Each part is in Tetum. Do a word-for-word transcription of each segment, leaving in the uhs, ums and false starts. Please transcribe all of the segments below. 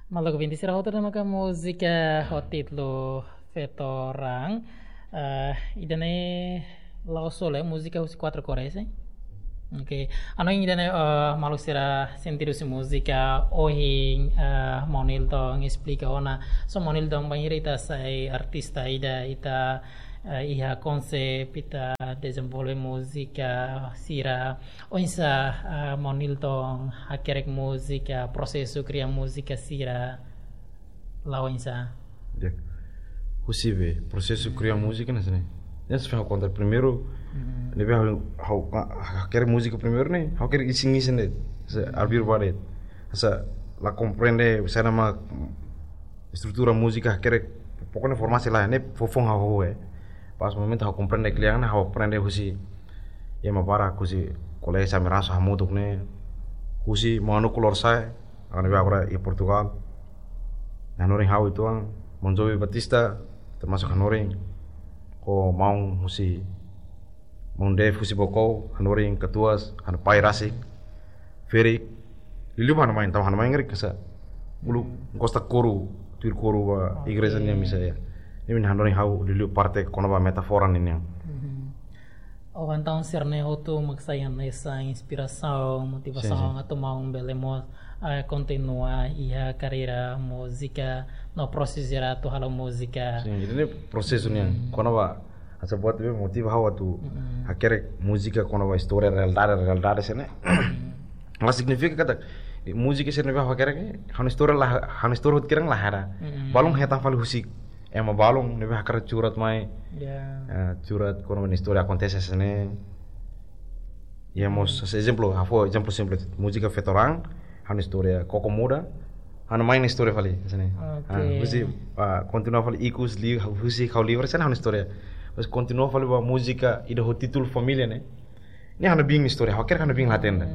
Maluk ouvinte sira hotu, ida-ne'e maka múzika ho títulu Feto Raan. Eh, ida-ne'e la'ós só múzika husi Quatro Cores, eh? Oke. Hanoin ida-ne'e, eh, maluk sira sente husi múzika, ohin, eh, Maun Nilton esplika ona. So Maun Nilton bainhira ita sai artista ida, ita, eh, iha konsep, ita dezenvolve múzika sira. Oinsá, eh, Maun Nilton hakerek múzika, prosesu kria múzika sira, la oinsá? Ya. Husi be, prosesu kria múzika ne'e hanesan ne'e. Ya, se ha'u konta primeiru, ne'ebé ha'u, ha'u, ah, hakerek múzika primeiru ne'e, ha'u hakerek isin-isin de'it. Se, abrir ba de'it. Hanesan la komprende, hanesan ne'e mak estrutura múzika hakerek, pokoknya formasi la, ne'e foufoun ha'u, eh. Pas momentu ha'u komprende kle'an ne'e, ha'u aprende husi ema barak, husi kolega Samiraso hamutuk ne'e, husi Maun Nuku Lorosa'e, agora ne'ebé agora iha Portugal. Hanorin ha'u uitoan, Maun Jovi Batista, termasuk hanorin, ho maun husi, Maun Dave husi Baucau, hanorin katuas, ha'u-nia pai rasik, ferik, liuliu ba ha'u-nia mãe, entaun ha'u-nia mãe ngeri kasa. Uluk gosta kóru, tuir kóru ba igreja nian misa ya. Ne'e mak hanorin ha'u liuliu parte kona-ba metáfora ninian. Mhm. Oh, entaun sira-ne'e hotu mak sai hanesan inspirasaun, motivasaun atu maun bele mós, eh, kontinua iha karreira múzika, no prosesu sira atu halo múzika. Sin, ida-ne'e prosesu nian. Kona-ba, hanesan buat ne'ebé motiva ha'u atu hakerek múzika kona-ba istória realidade, realidade sira-ne'e. La signifika katak múzika sira ne'ebé ha'u hakerek, ha'u-nia istória la, ha'u-nia istória hotu kiran la hera. Balun hetan fali husi ema balun ne'ebé hakarak curat mai. Ya. Eh, curat kona-ba istória akontese hanesan ne'e. Ya, mós, hanesan ezemplu, ha'u fó ezemplu simples. Múzika Feto Raan, ha'u-nia istória koko muda, ha'u-nia mãe nia istória fali, hanesan ne'e. Oke. Ah, husi, ah, kontinua fali ikus, li, husi ha'u livre, hanesan ne'e ha'u-nia istória. Mas kontinua fali ba múzika ida ho títulu Família ne'e. Ne'e ha'u-nia biin nia istória, ha'u hakerek ha'u-nia biin la hatene ida.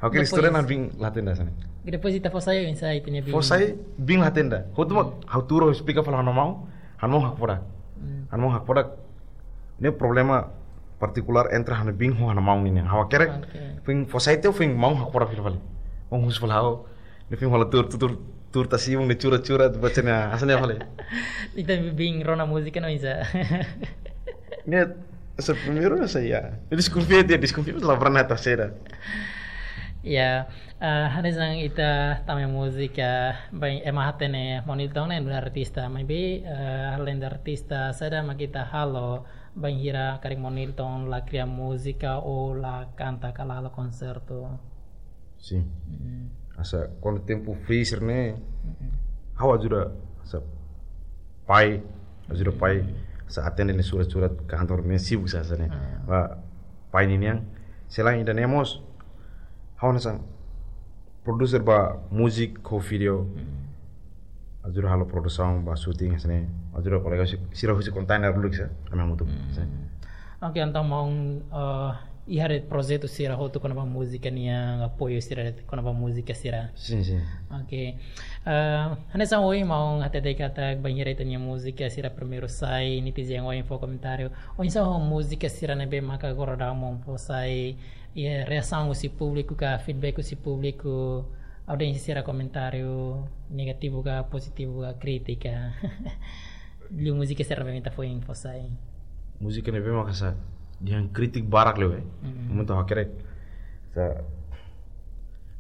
Ha'u hakerek istória ha'u-nia biin la hatene ida hanesan ne'e. Depois ita fó sai oinsá ita-nia biin? Fó sai biin la hatene ida. Hotu mak ha'u tuur esplika fali ha'u-nia maun, ha'u-nia maun hakfodak. Ha'u-nia maun hakfodak. Ne'e problema partikulár entre ha'u-nia biin ho ha'u-nia maun nian. Ha'u hakerek, oke, foin fó sai tiha foin maun hakfodak fila fali. Maun husu fali ha'u. Ne'e foin hola tuur, tuur, tuur, tuur tasi, maun ne'e curat, curat, baca ne'e, hanesan ne'e fali. Ita biin rona múzika ne'e oinsá? Ne'e, hanesan primeiru hanesan ya. Deskonfia tiha, deskonfia, la pernah ta seda. Ya, eh, hanesan ita tama múzika, bain, ema hatene Maun Nilton ne'e nu'udar artista, maibé, eh, além de artista, saida mak ita halo, bainhira karik Maun Nilton la kria múzika ou la kanta ka la halo konsertu? Sin. Mm. Hanesan kuandu tempu free sira-ne'e, ha'u ajuda, hanesan pai, ajuda pai, hanesan atende nia surat-surat kantor ne'e sibuk sá hanesan ne'e. Ah. Ba pai ninian, selain ida-ne'e mós, ha'u hanesan produser ba múzika ho vídeo. Mm. Ajuda halo produsaun ba shooting hanesan ne'e. Ajuda kolega si-, sira husi kontainer dulu sá, ami hamutuk. Mm. Hanesan ne'e. Oke, entaun maun, eh, iha de'it projetu sira hotu kona-ba múzika nian, apoiu sira de'it kona-ba múzika sira. Sin, sin. Oke. Eh, hanesan ohin maun hatete katak bainhira ita-nia múzika sira primeiru sai, netizen ohin fó komentáriu. Oinsá ho múzika sira ne'ebé maka agora daudaun maun fó sai, iha reasaun husi públiku ka, feedback husi públiku, audiénsia sira komentáriu negativu ka, pozitivu ka, krítika. Liu múzika sira ne'ebé ita foin fó sai. Múzika ne'ebé maka hanesan dehan krítika barak liu, eh. Mm. Momentu ha'u hakerek. Hanesan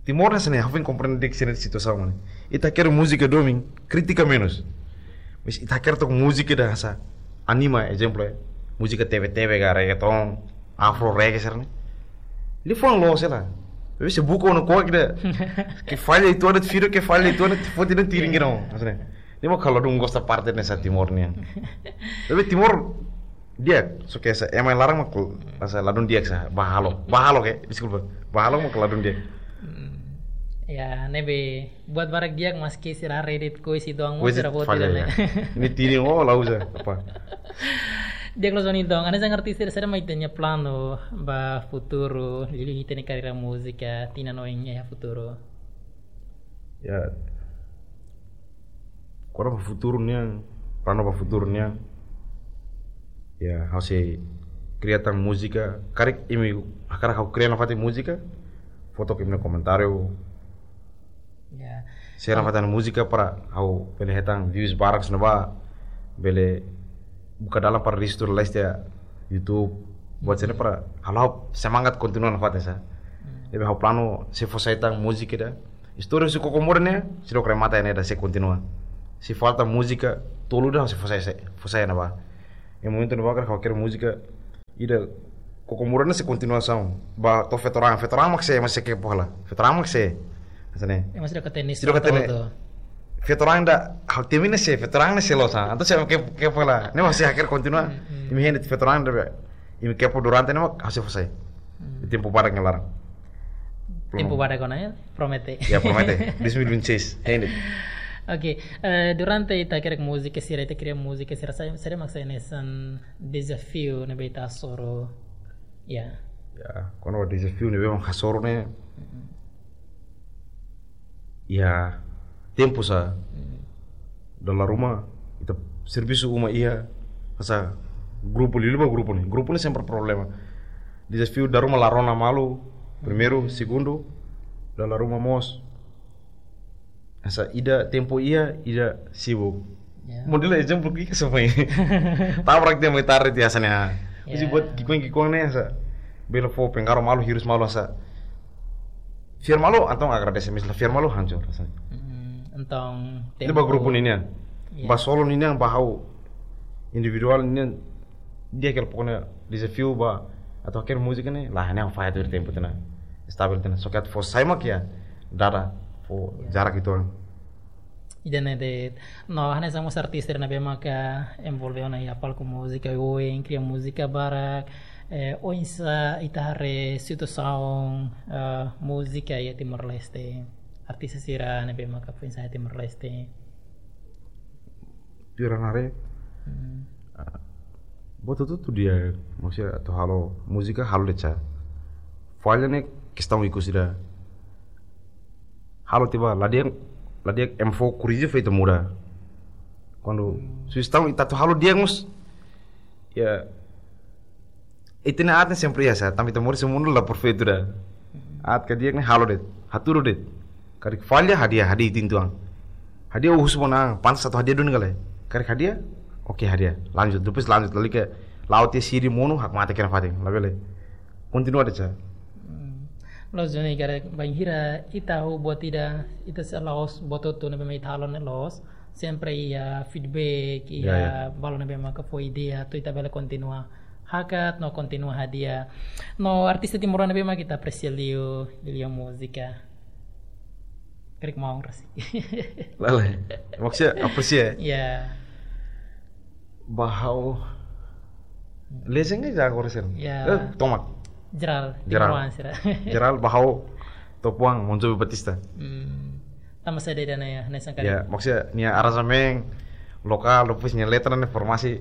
Timor hanesan ne'e, ha'u foin komprende di'ak sira-nia situasaun ne'e. Ita hakerek múzika domin, krítika menus. Mas ita hakerek tok múzika ida hanesan anima, ezemplu, eh. Múzika T V T V ka, reggaeton, afro reggae sira-ne'e. Liafuan loos hela. Tapi se buka ona kuak ida. Ke falla itu ada video, ke falla itu ada foto dan tiring kira. Hanesan ne'e. Ne'e mak ha'u ladún gosta parte hanesan Timor nian. Tapi Timor di'ak, só ke hanesan ema laran mak hanesan ladún di'ak sá, ba halo. Ba halo ke, deskulpa. Ba halo mak ladún di'ak. Hmm. Ya, ne'ebé buat barak di'ak maski sira Reddit kois itu ang mau Kois sira itu buat falla, tidak ya. Ne'e. Ini tini, oh, la uza, apa? Di'ak loos Maun Nilton, hanesan artista sira, saida mak ita-nia planu ba futuru, liuliu ita-nia karreira múzika, tinan oin iha futuru? Ya, kona-ba futuru nian, planu ba futuru nian. Ya, ha'u sei kria tan múzika, karik imi hakarak ha'u kria nafatin múzika, fó took imi-nia komentáriu. Ya, Sira nafatin múzika para ha'u bele hetan views barak, sino ba bele buka dalan para register leste iha YouTube. Buat sira-ne'e para halo semangat kontinua nafatin sa. Ne'ebé ha'u planu sei fó sai tan múzika ida. Istória husi Koko Moura ne'e, sei loke remata ne'e ida, sei kontinua. Se falta múzika tolu ida, sei fó sai, sei fó sai ne'ebá. Iha momentu ne'ebá ha'u hakarak múzika ida Koko Moura ne'e sei kontinuasaun. Ba to'o Feto-Raan, Feto-Raan mak sei, mak sei kepo hela. Feto-Raan mak sei. Hanesan ne'e. Ema sira ka tenis Sira ka to'o tenis. Feto-Raan ida, ha'u temi ne'e sei, Feto-Raan ne'e sei loos sa. Entaun sei kepo, kepo hela. Ne'e mak sei hakarak kontinua. Hmm, hmm. Imi hein de'it Feto-Raan ida be. Imi kepo durante ne'e mak ha'u sei fó sai. Hmm. Tempu badak nia laran. Tempu badak ona ya, promete. Ya, promete. Dois mil e vinte e seis, hein de'it. Oke, eh, durante ita hakerek múzika sira, ita kria múzika sira, saida, saida mak sai hanesan dezafiu ne'ebé ita hasoru. Ya. Ya, kuandu dezafiu ne'ebé mak hasoru ne'e. Mm-mm. Ya, tempu sa. Mm. Dala ruma, ita servisu uma iha, hanesan grupu, liuliu ba grupu ne'e. Grupu ne'e sempre problema. Dezafiu dala ruma la rona malu, primeiru, segundu, dala ruma mós. Hanesan ida tempu iha, ida sibuk. Ya. Modelu ezemplu ki'ik hanesan foin. Tabrak dia mai tarde dia hanesan ne'e. Ya. Husi buat ki'ikoan-ki'ikoan ne'e hanesan. Bele fó pengaruh malu, hirus malu hanesan. Fiar malu, entaun agradese, mais la fiar malu hancur hanesan. Mm, entaun tempu ba grupu ninian. Ya. Ba solo ninian, ba ha'u individuál ninian, di'ak hela pokoknya dezafiu ba atu hakerek múzika ne'e, la ne'e falla tuir tempu tiha ona. Stabil tiha ona. Só ke atu fó sai mak ya, dada fó jarak uitoan. Ida-ne'e de'it, no, hanesan mós artista ne'ebé maka envolve ona iha palku múzika, ohin kria múzika barak, eh, oinsá ita haree situasaun, eh, múzika iha Timor-Leste. Artista sira ne'ebé maka foin sa'e iha Timor-Leste. Tuir ha'u haree. Hmm. Ah, buat hotu-hotu di'ak, maksudnya atu halo múzika halo de'it sa. Falla ne'e kestaun ikus ida. Halo tiha ba, la di'ak, la di'ak ema fó korrije fó ita muda. Kuandu, hmm, sugestaun ita atu halo di'ak mós. Ya, ita-nia aat ne'e sempre iha sa, tanba ita moris iha mundu la perfeitu ida. Aat ka di'ak ne'e halo de'it, hatudu de'it. Karik falla hadi'a, hadi'a ita-nia an. Hadi'a husu ba an, pantas atu hadi'a duni ka lae. Karik hadi'a, oke hadi'a. Lanjut, depois lanjut, lalika la'o tiha sidi monu, hakmatek iha nafatin, labele. Kontinua de'it sa. Hmm. Loos duni karik bainhira ita hahú buat ida, ita sei la'ós buat hotu ne'ebé mak ita halo ne'e loos. Sempre iha feedback, iha, ya, ya, balu ne'ebé maka fó ideia, atu ita bele kontinua hakat, no kontinua hadi'a. No artista timoroan ne'ebé mak ita apresia liu, liuliu múzika. Karik maun rasik. Lae, lae. Maksudnya apresia? Ya. Ba ha'u. Legend ka agora sih? Ya. Eh, tomak. Jerál, jerál. Timoroan sira. Jerál ba ha'u top one Bon Jovi Batista. Hmm. Tanba saida ida-ne'e ya, hanesan karik. Ya, maksudnya nia aranjemen lokál, depois nia letra ne'e formasi.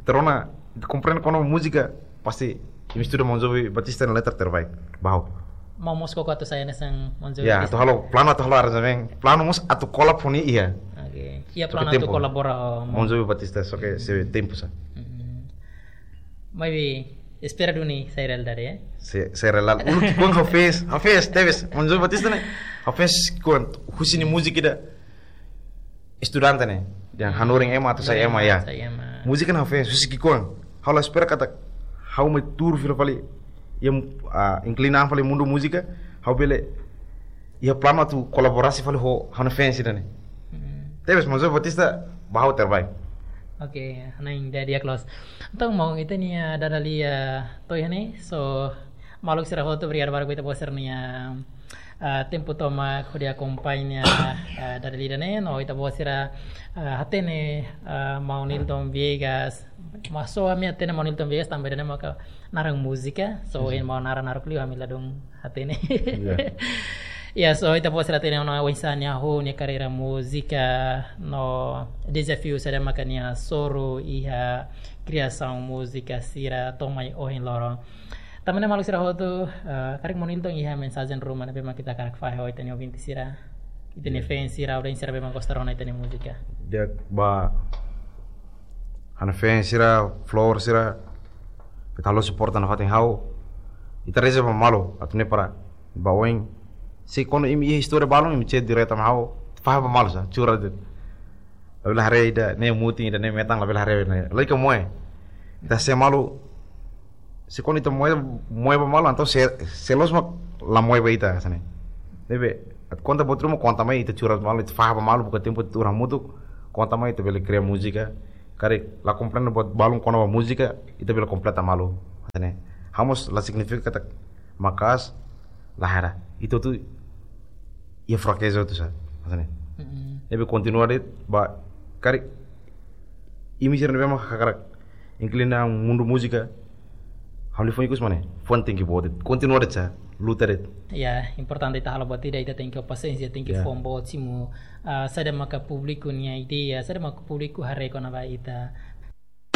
Ita rona, ita komprende kuandu múzika pasti imi estuda Bon Jovi Batista nia letra terbaik. Ba ha'u. Maun mós koko atu sai hanesan Bon Jovi Batista? Ya, atu halo, planu atu halo aranjemen, planu mós atu kolab ho nia iha. Oke. Iha planu atu kolabora ho Bon Jovi Batista, só ke sei tempu sa. Mm-mm. Maibé, espera duni sai realidade, eh? Sei, sai realidade. Uluk ki'ikoan ha'u fans, ha'u fans, tebes, Bon Jovi Batista ne'e. Ha'u fans ki'ikoan, husi nia múzika ida. Estudante ne'e, yang hanorin ema atu sai ema, ya. Sai ema. Múzika ne'e ha'u fans, husi ki'ikoan. Ha'u la espera katak ha'u mai tuur fila fali, yang, ah, inklina fali mundu múzika, ha'u bele, iha planu atu kolaborasi fali ho, ha'u-nia fans ida-ne'e. Hmm. Tebes, Bon Jovi Batista, ba ha'u terbaik. Oke, hanoin di'ak loos. Entaun maun, ita-nia dada lia to'o iha ne'e, so, maluk sira hotu, obrigadu barak ba ita-boot sira-nia, ah, tempu tomak hodi akompaña, ah, dada lia ida-ne'e, no ita-boot sira, ah, hatene, ah, maun Nilton Viegas, mas só ami hatene maun Nilton Viegas tanba ida-ne'e maka naran múzika, so, hmm, ohin maun naran naruk liu ami ladún hatene. Ya. Ya, so, ita-boot sira hatene ona oinsá nia hahú nia karreira múzika, no dezafiu saida maka nia hasoru iha kriasaun múzika sira to'o mai ohin loron. Tanba ne'e maluk sira hotu, eh, karik maun Nilton iha mensajen ruma ne'ebé mak ita hakarak fahe ho ita-nia ouvinte sira, ita-nia, ya, fans sira, hodi sira ne'ebé mak gosta rona ita-nia múzika. Di'ak ba ha'u-nia fans sira, follower sira, ita halo suporta nafatin ha'u. Ita reza ba malu, atu nune'e para ba oin. Se kuandu imi iha istória balun, imi chat direta mai ha'u, fahe ba malu sa, cura de'it. Labele haree ida-ne'e mutin, ida-ne'e metan, labele haree ne'e. Lagi ke moe. Ita sei malu, se kuandu ita moe, moe ba malu, entaun se, se loos mak la moe ba ita, hanesan ne'e. Ne'ebé, atu konta buat ruma, konta mai, ita cura malu, ita fahe ba malu, buka tempu ita cura hamutuk, konta mai, ita bele kria múzika. Karik la komprende buat balun kona-ba múzika, ita bele kompleta malu, hanesan ne'e. Ha'u mós la signifika katak maka'as, la hera. Ita hotu iha frakeza hotu sa, hanesan ne'e. Mm-mm. Ne'ebé kontinua de'it, ba, karik imi sira ne'ebé mak hakarak inklina mundu múzika, ha'u-nia foin ikus mane, foin tenke boot de'it, kontinua de'it sa, luta de'it. Ya, importante ita halo buat ida, ita tenke pasiénsia, tenke Ya. foin boot simu, ah, saida maka públiku nia ideia, saida maka públiku haree kona-ba ita.